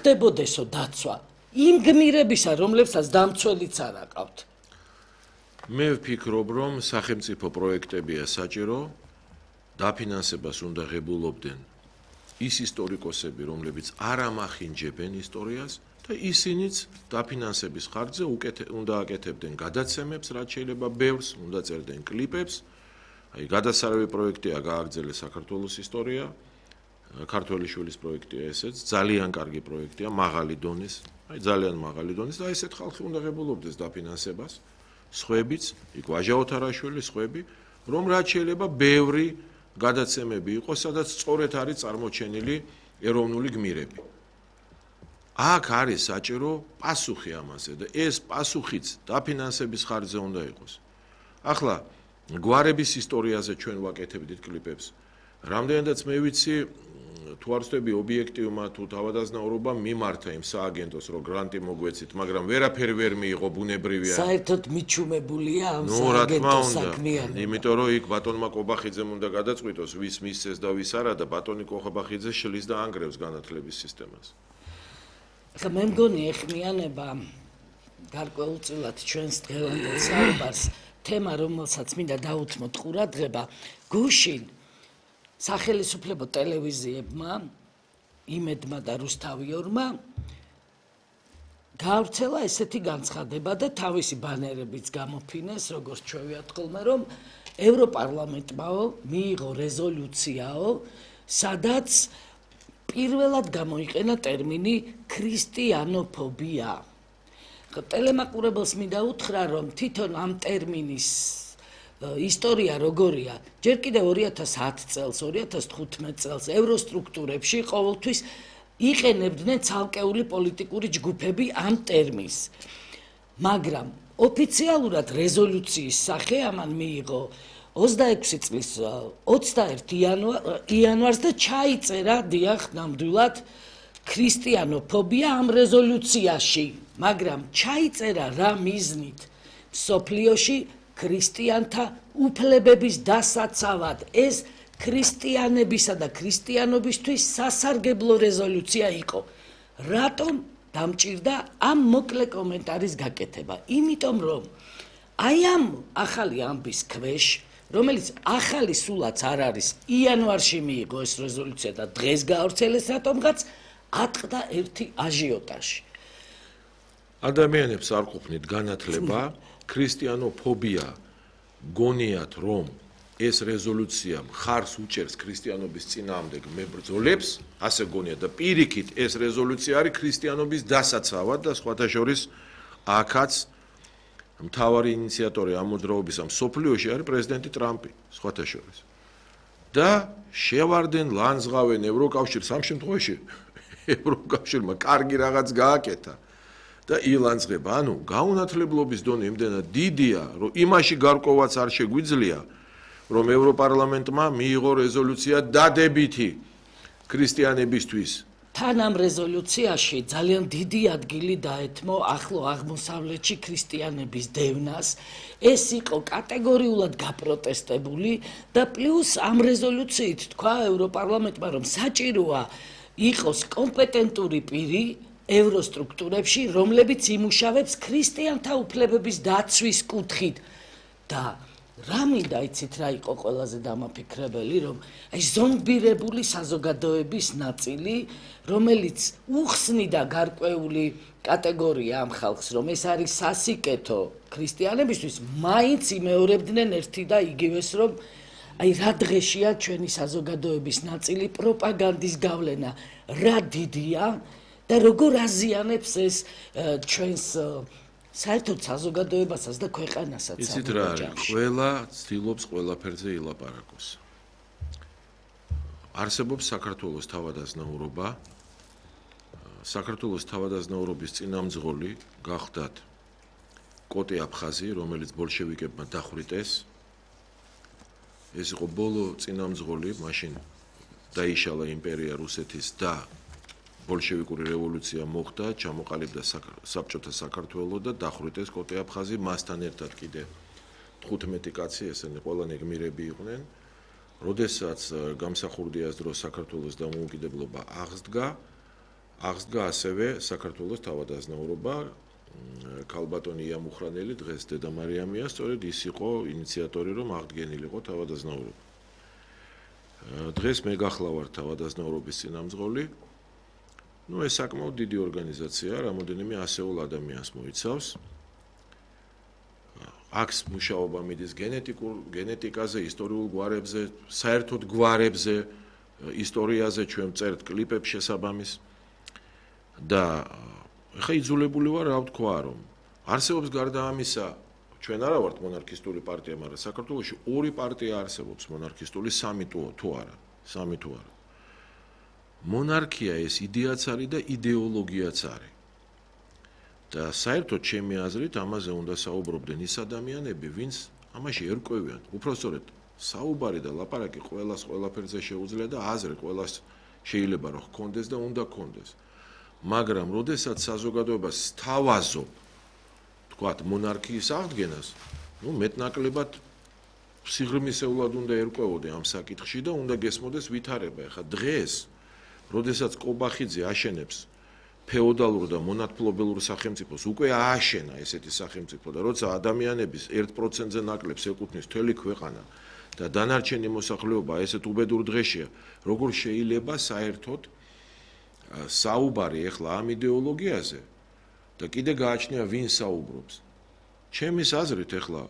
ხდებოდესო დაცვა იმ გმირებისა, რომლებსაც დამცველიც არ აყავთ. მე ვფიქრობ, რომ სახელმწიფო პროექტებია საჭირო, დაფინანსებას უნდა ღებულობდნენ ის ისტორიკოსები, რომლებიც არ ამახინჯებენ ისტორიას და ისინიც დაფინანსების ხარჯზე უნდა აკეთებდნენ გადაცემებს, რაც შეიძლება ბევრს, უნდა წერდნენ კლიპებს. აი გადასარევი პროექტია გააგრძელეს საქართველოს ისტორია, ქართველი შვილის პროექტია ესეც, ძალიან კარგი პროექტია, მაღალი დონის, აი ძალიან მაღალი დონის და ესეთ ხალხი უნდა ღებულობდეს დაფინანსებას. სხვებიც, იქ ვაჟა ოთარაშვილი, სხვები, რომ რაც შეიძლება ბევრი გადაცემები იყოს, სადაც სწორედ არის წარმოჩენილი ეროვნული გმირები. აქ არის საჭირო პასუხი ამაზე და ეს პასუხიც დაფინანსების ხარჯზე უნდა იყოს. ახლა გვარების ისტორიაზე ჩვენ ვაკეთებდით კლიპებს. რამდენადაც მე ვიცი, თუ არ ვწდები ობიექტივმა თუ თავადაზნაურობამ მიმართა იმ სააგენტოს, რომ გრანტი მოგვეცით, მაგრამ ვერაფერი ვერ მიიღო, ბუნებრივია. საერთოდ მიჩუმებულია ამ სააგენტოს საქმიანობა. იმიტომ რომ იქ ბატონმა კობახიძემ უნდა გადაწყვიტოს, ვის მისცეს და ვის არა და ბატონი კობახიძე შლის და ანგრევს განათლების სისტემას. ახლა მე მგონი ეხმიანება გარკვეულწილად ჩვენს დღევანდელ საუბარს თემა, რომელსაც მინდა დაუთმოთ ყურადღება, გუშინ სახელისუფლებო ტელევიზიებმა, იმედმა და რუსთავიორმა გაავრცელა ესეთი განცხადება და თავისი ბანერებიც გამოფინეს, როგორც ჩვევიათ ხოლმე, რომ ევროპარლამენტმაო მიიღო რეზოლუციაო, სადაც პირველად გამოიყენა ტერმინი ქრისტიანოფობია. ტელემაყურებელს მინდა უთხრა, რომ თვითონ ამ ტერმინის ისტორია როგორია, ჯერ კიდევ 2010 წელს, 2015 წელს ევროსტრუქტურებში ყოველთვის იყენებდნენ ცალკეული პოლიტიკური ჯგუფები ამ ტერმინს. მაგრამ ოფიციალურად რეზოლუციის სახე ამან მიიღო 26 წლის 21 იანვარს და ჩაიწერა დიახ ნამდვილად ქრისტიანოფობია ამ რეზოლუციაში, მაგრამ ჩაიწერა რა მიზნით მსოფლიოში ქრისტიანთა უფლებების დასაცავად. ეს ქრისტიანებისა და ქრისტიანობისთვის სასარგებლო რეზოლუცია იყო. რატომ დამჭირდა ამ მოკლე კომენტარის გაკეთება? იმიტომ რომ აი ამ ახალი ამბის ქვეშ, რომელიც ახალი სულაც არ არის, იანვარში მიიღო ეს რეზოლუცია და დღეს გაავრცელეს რატომღაც, ატყდა ერთი აჟიოტაჟი. ადამიანებს არ ყოფნით განათლება, ქრისტიანოფობია გონიათ, რომ ეს რეზოლუცია მხარს უჭერს ქრისტიანობის წინააღმდეგ მებრძოლებს, ასე გონიათ და პირიქით ეს რეზოლუცია არის ქრისტიანობის დასაცავად და სხვათა შორის აქაც მთავარი ინიციატორი ამ მოძრაობის მსოფლიოში არის პრეზიდენტი ტრამპი, სხვათა შორის. და შევარდენ, ლანძღავენ ევროკავშირს, ამ შემთხვევაში ევროკავშირმა კარგი რაღაც გააკეთა და ილანძღება. ანუ გაუნათლებლობის დონე იმდენად დიდია, რომ იმაში გარკვევაც არ შეგვიძლია, რომ ევროპარლამენტმა მიიღო რეზოლუცია დადებითი ქრისტიანებისთვის. თან ამ რეზოლუციაში ძალიან დიდი ადგილი დაეთმო ახლო აღმოსავლეთში ქრისტიანების დევნას. ეს იყო კატეგორიულად გაპროტესტებული და პლუს ამ რეზოლუციით თქვა ევროპარლამენტმა, რომ საჭიროა იყოს კომპეტენტური პირი ევროსტრუქტურებში, რომლებიც იმუშავებს ქრისტიანთა უფლებების დაცვის კუთხით და რა მინდა იცით რა იყო ყველაზე დამაფიქრებელი, რომ აი ზომბირებული საზოგადოების ნაწილი, რომელიც უხსნიდა გარკვეული კატეგორია ამ ხალხს, რომ ეს არის სასიკეთო ქრისტიანებისთვის, მაინც იმეორებდნენ ერთი და იგივეს, რომ აი რა დღეშია ჩვენი საზოგადოების ნაწილი პროპაგანდის გავლენა, რა დიდია და როგორ აზიანებს ეს ჩვენს საერთოდ საზოგადოებასაც და ქვეყანასაც. იცით რა არის, ყველა ცდილობს ყველაფერზე ილაპარაკოს. არსებობს საქართველოს თავადაზნაურობა. საქართველოს თავადაზნაურობის წინამძღოლი გახდათ კოტე აფხაზი, რომელიც ბოლშევიკებმა დახვრიტეს. ეს იყო ბოლო წინამძღოლი, მაშინ დაიშალა იმპერია რუსეთის და ბოლშევიკური რევოლუცია მოხდა, ჩამოყალიბდა საბჭოთა საქართველო და დახვრიტეს კოტე აფხაზი, მასთან ერთად კიდე 15 კაცი, ესენი ყველანი გმირები იყვნენ. როდესაც გამსახურდიას დროს საქართველოს დამოუკიდებლობა აღსდგა, აღსდგა ასევე საქართველოს თავადაზნაურობა ქალბატონი იამუხრანელი დღეს დედამარიამია, სწორედ ის იყო ინიციატორი, რომ აღდგენილიყო თავადაზნაურობა. დღეს მე გახლავართ თავადაზნაურობის წინამძღოლი. ეს საკმაოდ დიდი ორგანიზაციაა, რამოდენიმე ასეულ ადამიანს მოიცავს. აქვს მუშაობა მიდის გენეტიკაზე, ისტორიულ გვარებზე, საერთოდ გვარებზე, ისტორიაზე, ჩვენ წერთ კლიპებს შესაბამის. და ხა იძულებული ვარ რა ვთქვა, რომ არსებობს გარდა ამისა, ჩვენ არა ვართ მონარქისტული პარტია, მაგრამ საქართველოში ორი პარტია არსებობს მონარქისტული, სამი თუ არა. მონარქია ეს იდეაც არის და იდეოლოგიაც არის. და საერთოდ ჩემი აზრით ამაზე უნდა საუბრობდნენ ის ადამიანები, ვინც ამაში ერკვევიან. უпростоრედ საუბარი და ლაპარაკი ყველას ყველაფერზე შეუძლია და აზრი ყველას შეიძლება რომ ჰქონდეს და უნდა ჰქონდეს. მაგრამ როდესაც საზოგადოებას სთავაზობ, თქვათ მონარქიის აღდგენას, მეტნაკლებად სიღრმისეულად უნდა ერკვევოდე ამ საკითხში და უნდა გესმოდეს ვითარება. ეხლა დღეს, როდესაც კობახიძე აშენებს ფეოდალურ და მონათმფლობელურ სახელმწიფოს, უკვე ააშენა ესეთი სახელმწიფო და როცა ადამიანების 1%-ზე ნაკლებს ეკუთვნის მთელი ქვეყანა და დანარჩენი მოსახლეობა ესეთ უბედურ დღეშია, როგორ შეიძლება საერთოდ საუბარი ეხლა ამ იდეოლოგიაზე და კიდე გააჩნია ვინ საუბრობს. ჩემის აზრით ეხლა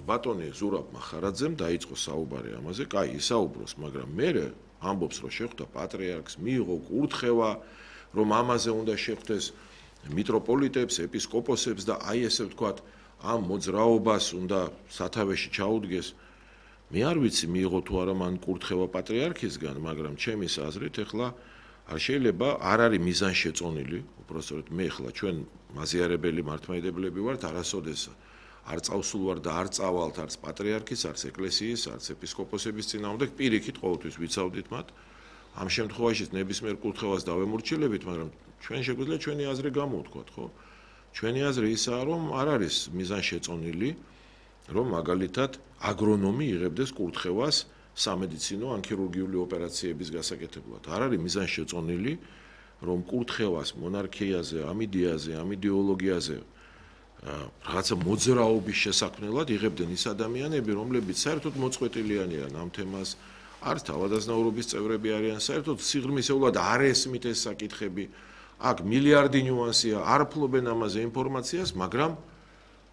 ბატონი ზურაბ მახარაძემ დაიწყო საუბარი ამაზე, კაი, ისაუბროს, მაგრამ მე ამბობს, რომ შეხვდა პატრიარქს, მიიღო კურთხევა, რომ ამაზე უნდა შეხვდეს მიტროპოლიტებს, ეპისკოპოსებს და აი ესე ვთქვათ, ამ მოძრაობას უნდა სათავეში ჩაუდგეს. მე არ ვიცი მიიღო თუ არა მან კურთხევა პატრიარქისგან, მაგრამ ჩემის აზრით ეხლა არ შეიძლება, არ არის მიზანშეწონილი, უпростоრედ მე ხლა ჩვენ მაზიარებელი მართლმადიდებლები ვართ, არასოდეს არ წავსულ ვარ და არ წავალთ არც პატრიარქის, არც ეკლესიის, არც ეპისკოპოსების წინააღმდეგ, პირიქით ყოველთვის ვიცავდით მათ. ამ შემთხვევაშიც ნებისმიერ კურთხევას დავემორჩილებით, მაგრამ ჩვენ შეგვიძლია ჩვენი აზრი გამოვთქვათ, ხო? ჩვენი აზრი ისაა, რომ არ არის მიზანშეწონილი, რომ მაგალითად აგრონომი იღებდეს კურთხევას სამედიცინო ან ქირურგიული ოპერაციების გასაკეთებლად. არ არის მიზანშეწონილი, რომ კურთხევას მონარქიაზე, ამ იდეაზე, ამ იდეოლოგიაზე რაღაცა მოძრაობის შესაქმნელად იღებდნენ ის ადამიანები, რომლებიც საერთოდ მოწყვეტილიანი არიან ამ თემას, არც თავადაზნაურობის წევრები არიან, საერთოდ სიღრმისეულად არ ესმით ეს საკითხები. აქ მილიარდი ნიუანსია, არ ფლობენ ამაზე ინფორმაციას, მაგრამ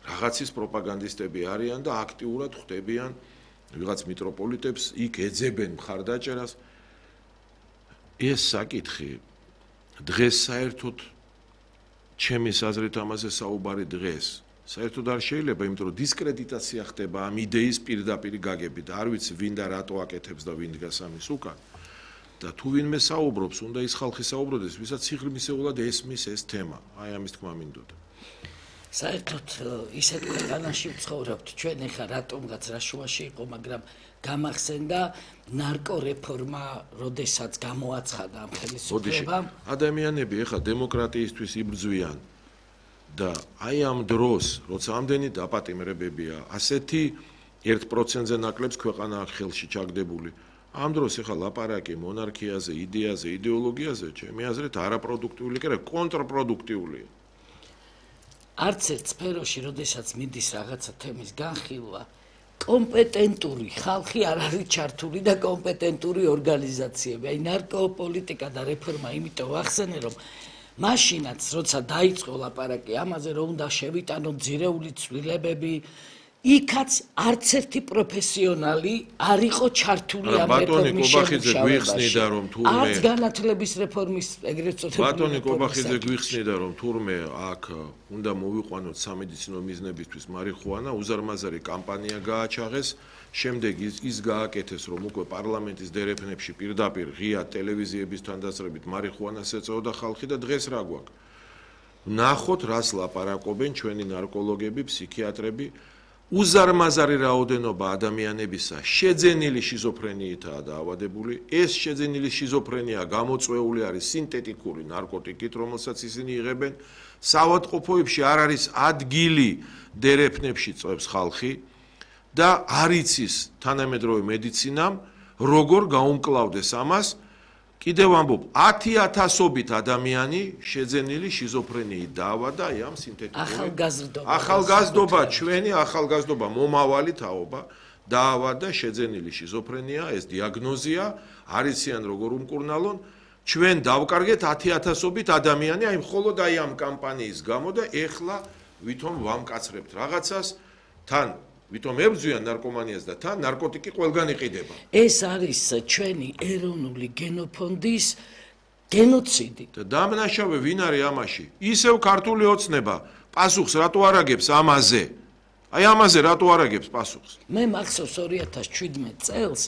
რაღაცის პროპაგანდისტები არიან და აქტიურად ხვდებიან ვიღაც მიტროპოლიტებს, იქ ეძებენ მხარდაჭერას. ეს საკითხი დღეს საერთოდ ჩემის აზრით ამაზე საუბარი დღეს საერთოდ არ შეიძლება, იმიტომ რომ დისკრედიტაცია ხდება ამ იდეის პირდაპირ გაგებით. არ ვიცი ვინ და რატო აკეთებს და ვინ დგას ამის უკან. და თუ ვინმე საუბრობს, უნდა ის ხალხი საუბრობდეს, ვისაც სიღრმისეულად ესმის ეს თემა. აი ამის თქმა მინდოდა. საერთოდ ისეთ ქვეყანაში ვცხოვრობთ ჩვენ ეხლა რატომღაც რა შუაში იყო, მაგრამ გამახსენდა ნარკორეფორმა, როდესაც გამოაცხადა ამ ხელისუფლებამ. ადამიანები ეხლა დემოკრატიისთვის იბრძვიან და აი ამ დროს, როცა ამდენი დაპატიმრებებია, ასეთი 1%-ზე ნაკლებს ქვეყანა ხელში ჩაგდებული. ამ დროს ეხლა ლაპარაკი მონარქიაზე, იდეაზე, იდეოლოგიაზე, ჩემი აზრით არაპროდუქტიული, კი არა, კონტრპროდუქტიულია. არც ერთ სფეროში, როდესაც მიდის რაღაცა თემის განხილვა, კომპეტენტური ხალხი არ არის ჩართული და კომპეტენტური ორგანიზაციები. აი ნარკოპოლიტიკა და რეფორმა იმიტომ ვახსენე, რომ მაშინაც, როცა დაიწყო ლაპარაკი ამაზე, რომ უნდა შევიტანოთ ძირეული ცვლილებები, იქაც არც ერთი პროფესიონალი არ იყო ჩართული ამ რეფორმის შემუშავებაში. არც განათლების რეფორმის ეგრეთ წოდებული ბატონი კობახიძე გვიხსნიდა, რომ თურმე აქ უნდა მოვიყვანოთ სამედიცინო მიზნებისთვის მარიხუანა, უზარმაზარი კამპანია გააჩაღეს, შემდეგ ის გააკეთეს, რომ უკვე პარლამენტის დერეფნებში პირდაპირ ღია ტელევიზიების თანდასწრებით მარიხუანას ეწეოდა ხალხი და დღეს რა გვაქვს? ნახოთ, რას ლაპარაკობენ ჩვენი ნარკოლოგები, ფსიქიატრები. უზარმაზარი რაოდენობა ადამიანებისა შეძენილი შიზოფრენიითაა დაავადებული. ეს შეძენილი შიზოფრენია გამოწვეული არის სინთეტიკური ნარკოტიკით, რომელსაც ისინი იღებენ. საავადმყოფოებში არ არის ადგილი დერეფნებში წვევს ხალხი და არ იცის თანამედროვე მედიცინამ როგორ გაუმკლავდეს ამას. კიდევ ამბობ 10,000-ობით ადამიანი შეძენილი შიზოფრენიით დაავადდა აი ამ სინთეტიკური ახალგაზრდობა ჩვენი ახალგაზრდობა მომავალი თაობა დაავადდა შეძენილი შიზოფრენია ეს დიაგნოზია არიციან როგორ უმკურნალონ ჩვენ დავკარგეთ 10,000-ობით ადამიანი აი მხოლოდ აი ამ კამპანიის გამო და ეხლა ვითომ ვამკაცრებთ რაღაცას თან ვითომ ებრძვიან ნარკომანიას და თან ნარკოტიკი ყველგან იყიდება. ეს არის ჩვენი ეროვნული გენოფონდის გენოციდი. და დამნაშავე ვინ არის ამაში? ისევ ქართული ოცნება პასუხს რატო არ აგებს ამაზე? აი ამაზე რატო არ აგებს პასუხს? მე მახსოვს 2017 წელს,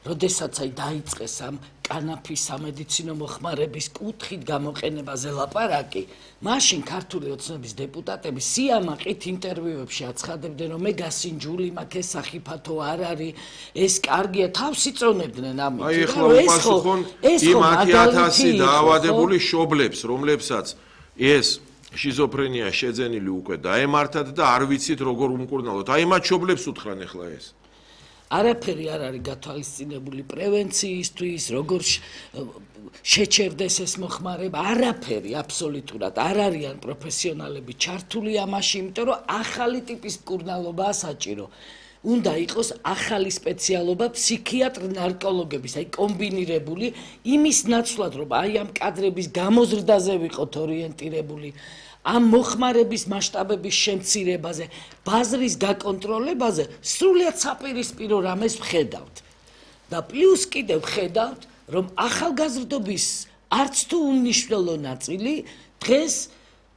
როდესაც აი დაიწყეს ამ კანაფის სამედიცინო მოხმარების კუთხით გამოყენებაზე ლაპარაკი, მაშინ ქართული ოცნების დეპუტატები სიამაყით ინტერვიუებში აცხადებდნენ, რომ მე გასინჯული მაქვს ეს სახიფათო არ არის, ეს კარგია, თავს იწონებდნენ ამით. აი ეხლა უპასუხონ იმ 10,000 დაავადებული შობლებს, რომლებსაც ეს შიზოფრენია შეძენილი უკვე დაემართათ და არ ვიცით როგორ უმკურნალოთ. აი მათ შობლებს უთხრან ეხლა ეს. არაფერი არ არის გათვალისწინებული პრევენციისთვის, როგორ შეჩერდეს ეს მოხმარება, არაფერი აბსოლუტურად არ არიან პროფესიონალები ჩართული ამაში, იმიტომ რომ ახალი ტიპის მკურნალობაა საჭირო. უნდა იყოს ახალი სპეციალობა ფსიქიატრ-ნარკოლოგების, აი კომბინირებული, იმის ნაცვლად, რომ აი ამ კადრების გამოზრდაზე ვიყოთ ორიენტირებული. ამ მოხმარების მასშტაბების შემცირებაზე, ბაზრის გაკონტროლებაზე სრულიად საპირისპირო რამეს ვხედავთ. და პლუს კიდევ ვხედავთ, რომ ახალგაზრდობის არც თუ უმნიშვნელო ნაწილი დღეს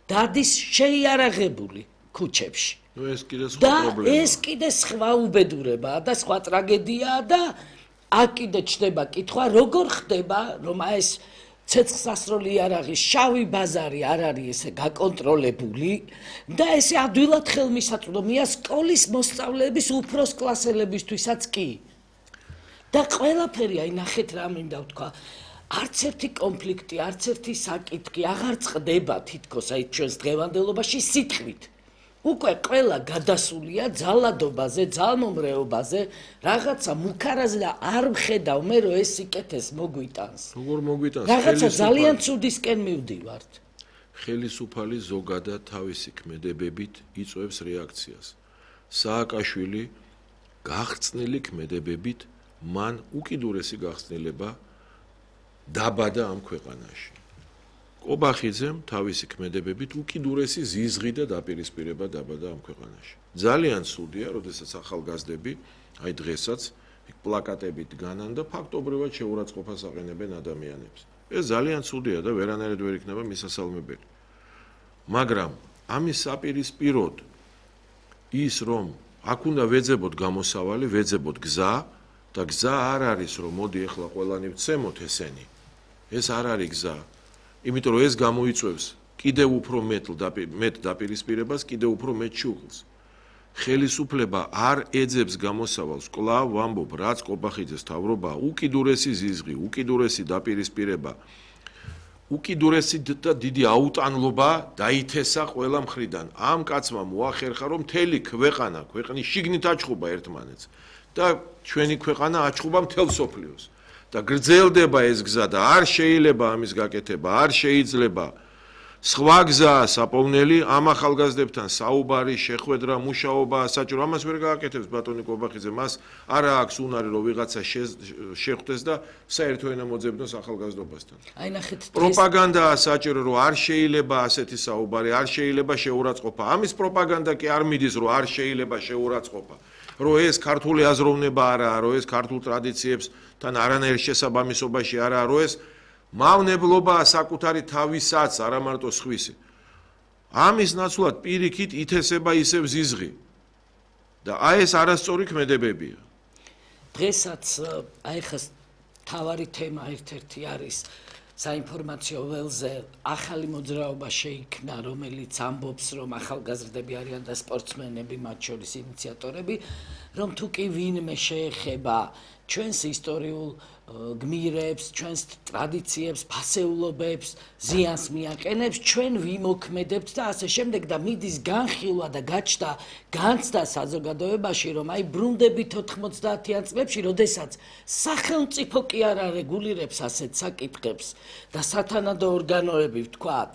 დადის შეიარაღებული ქუჩებში. ნუ ეს კიდე სხვა პრობლემაა. ეს კიდე სხვა უბედურებაა და სხვა ტრაგედიაა და აქ კიდე ჩდება კითხვა, როგორ ხდება, რომ ეს ცეცხლსასროლი იარაღის შავი ბაზარი არ არის ესე გაკონტროლებული და ესე ადვილად ხელმისაწვდომია სკოლის მოსწავლეების უფროს კლასელებისთვისაც კი. და ყველაფერი აი ნახეთ რა მინდა ვთქვა, არც ერთი კონფლიქტი, არც ერთი საკითხი აღარ წყდება თითქოს აი ჩვენს დღევანდელობაში სიტყვით. უკვე ყველა გადასულია ძალადობაზე, ძალმომრეობაზე, რაღაცა მუქარაზე და არ ვხედავ მე რომ ეს სიკეთეს მოგვიტანს. როგორ მოგვიტანს? რაღაცა ძალიან ცუდისკენ მივდივართ. ხელისუფალი ზოგადად თავისი ქმედებებით იწვევს რეაქციას. სააკაშვილი გახწნილი ქმედებებით მან უკიდურესი გახსნილება დაბადა ამ ქვეყანაში. კობახიძემ თავისი ქმედებებით უკიდურესი ზიზღი და დაპირისპირება დაბადა ამ ქვეყანაში. ძალიან ცუდია, როდესაც ახალგაზრდები, აი დღესაც პლაკატებით განან და ფაქტობრივად შეურაცხყოფას აყენებენ ადამიანებს. ეს ძალიან ცუდია და ვერანაირად ვერ იქნება მისასალმებელი. მაგრამ ამის საპირისპიროდ ის რომ აქ უნდა ვეძებოთ გამოსავალი, ვეძებოთ გზა და გზა არ არის რომ მოდი ახლა ყველანი ვცემოთ ესენი. ეს არ არის გზა. იმიტომ რომ ეს გამოიწვევს კიდევ უფრო მეტ დაპირისპირებას, კიდევ უფრო მეტ შუღლს. ხელისუფლება არ ეძებს გამოსავალს, კვლავ ვამბობ, რაც კობახიძეს თავრობა, უკიდურესი ზიზღი, უკიდურესი დაპირისპირება, უკიდურესი და დიდი აუტანლობა დაითესა ყველა მხრიდან. ამ კაცმა მოახერხა, რომ მთელი ქვეყნის შიგნით აჩხუბა ერთმანეთს და ჩვენი ქვეყანა აჩხუბა მთელ სოფლიოს. და გრძელდება ეს გზა და არ შეიძლება ამის გაკეთება, არ შეიძლება. სხვა გზაა საპოვნელი ამ ახალგაზრდებთან საუბარი, შეხვედრა, მუშაობა, საჭირო ამას ვერ გააკეთებს ბატონი კობახიძე, მას არა აქვს უნარი რომ ვიღაცა შეხვდეს და საერთო ენა მოძებნოს ახალგაზრდობასთან. აი ნახეთ პროპაგანდაა საჭირო რომ არ შეიძლება ასეთი საუბარი, არ შეიძლება შეურაცხყოფა. ამის პროპაგანდა კი არ მიდის რომ არ შეიძლება შეურაცხყოფა. რომ ეს ქართული აზროვნება არაა, რომ ეს ქართულ ტრადიციებსთან არანაირ შესაბამისობაში არაა, რომ ეს მავნებლობაა საკუთარი თავისაც, არა მარტო სხვისი. ამის ნაცვლად პირიქით ითესება ისევ ზიზღი. და აი ეს არასწორი ქმედებებია. დღესაც აი ხა თავარი თემა ერთ-ერთი არის საინფორმაციო ველზე ახალი მოძრაობა შეიქმნა, რომელიც ამბობს, რომ ახალგაზრდები არიან და სპორტსმენები, მათ შორის ინიციატორები რომ თუ კი ვინმე შეეხება ჩვენს ისტორიულ გმირებს, ჩვენს ტრადიციებს, ფასეულობებს, ზიანს მიაყენებს, ჩვენ ვიმოქმედებთ და ასე შემდეგ და მიდის განხილვა და გაჩნდა განცდა საზოგადოებაში, რომ აი ბრუნდებით 90-იან წლებში, როდესაც სახელმწიფო კი არ არეგულირებს ასეთ საკითხებს და სათანადო ორგანოები, ვთქვათ,